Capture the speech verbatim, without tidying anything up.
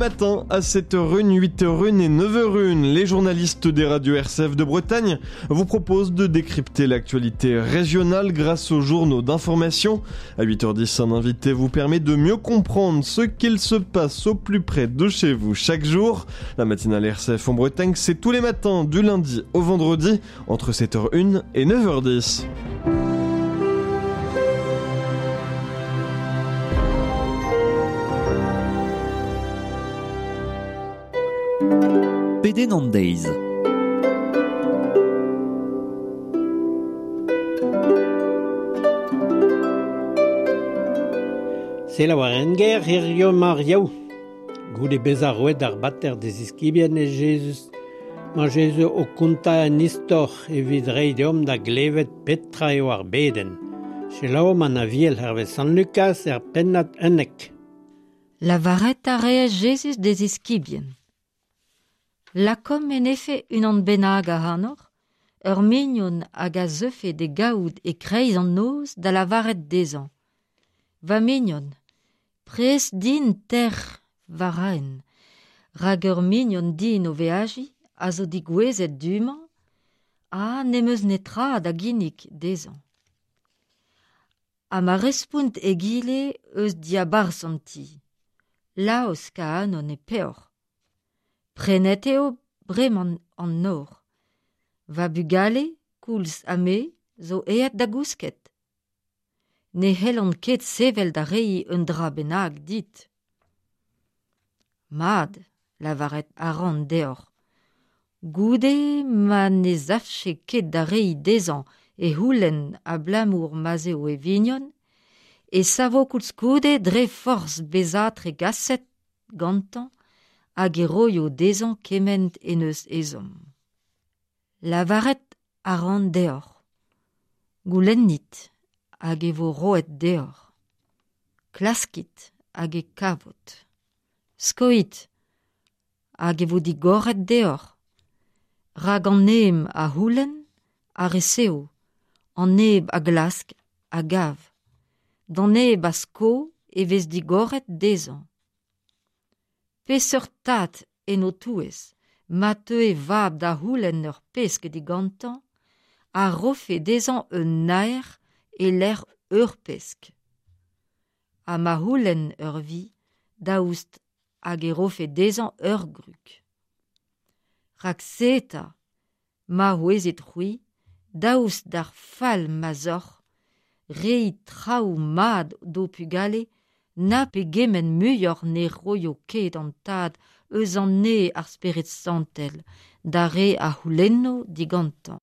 Matin à sept heures une, huit heures une et neuf heures une, les journalistes des radios R C F de Bretagne vous proposent de décrypter l'actualité régionale grâce aux journaux d'information. À huit heures dix, un invité vous permet de mieux comprendre ce qu'il se passe au plus près de chez vous chaque jour. La matinale R C F en Bretagne, c'est tous les matins du lundi au vendredi entre sept heures une et neuf heures dix. Pedenn an deiz. Selaou ar enger hirio mar yaou. Goude bezañ roet ar bater d'e ziskibien e Jezuz. Ma Jezuz o kontañ an istor evit reiñ deomp da glevet petra eo ar bedenn. Selaouomp an aviel hervez Sant Lukaz er pennad unnek. Lavaret a reas Jezuz d'e ziskibien. Lakom en efe unan bennak ac'hanoc'h, ur mignon hag a zeufe d'e gaout e kreiz an noz da lavaret dezhañ. Va mignon, prest din ter varaen, rak ur mignon din o veajiñ a zo digouezet du-mañ, ha n'em eus netra da ginnig dezhañ. Ha ma respont egile eus diabarzh an ti. Laosk a anon e peoc'h. Prenet eo bremañ an nor. Va bugale, koulz ha me, zo aet da gousket. Ne c'hellan ket sevel da reiñ un dra bennak dit. Mat, lavaret a ran deoc'h. Goude ma ne savfe ket da reiñ dezhañ e c'houlenn abalamour ma'z eo e vignon, e savo koulskoude dre forzh bezañ tregaset gantañ hag e roio dezhañ kement en eus ezhomm. Lavaret a ran deoc'h. Goulennit hag e vo roet deoc'h. Klaskit hag e kavot. Skoit hag e vo digoret deoc'h. Rak an neb a c'houlenn a resev, an neb a glask a gav. D'an neb a sko e vez digoret dezhañ. Peseurt tad en ho touez, ma teu e vab da c'houlenn ur pesk digantañ, a rofe dezhañ un naer e-lec'h ur pesk. Ha ma c'houlenn ur vi, daoust hag e rofe dezhañ ur grug. Rak se eta, ma c'hwezit c'hwi, daoust d'ar fall ma'z oc'h, reiñ traoù mat d'ho pugale, na pegement muioc'h ne roio ket an tad eus an neñv ar Spered Santel, d'ar re a c'houlenno digantañ.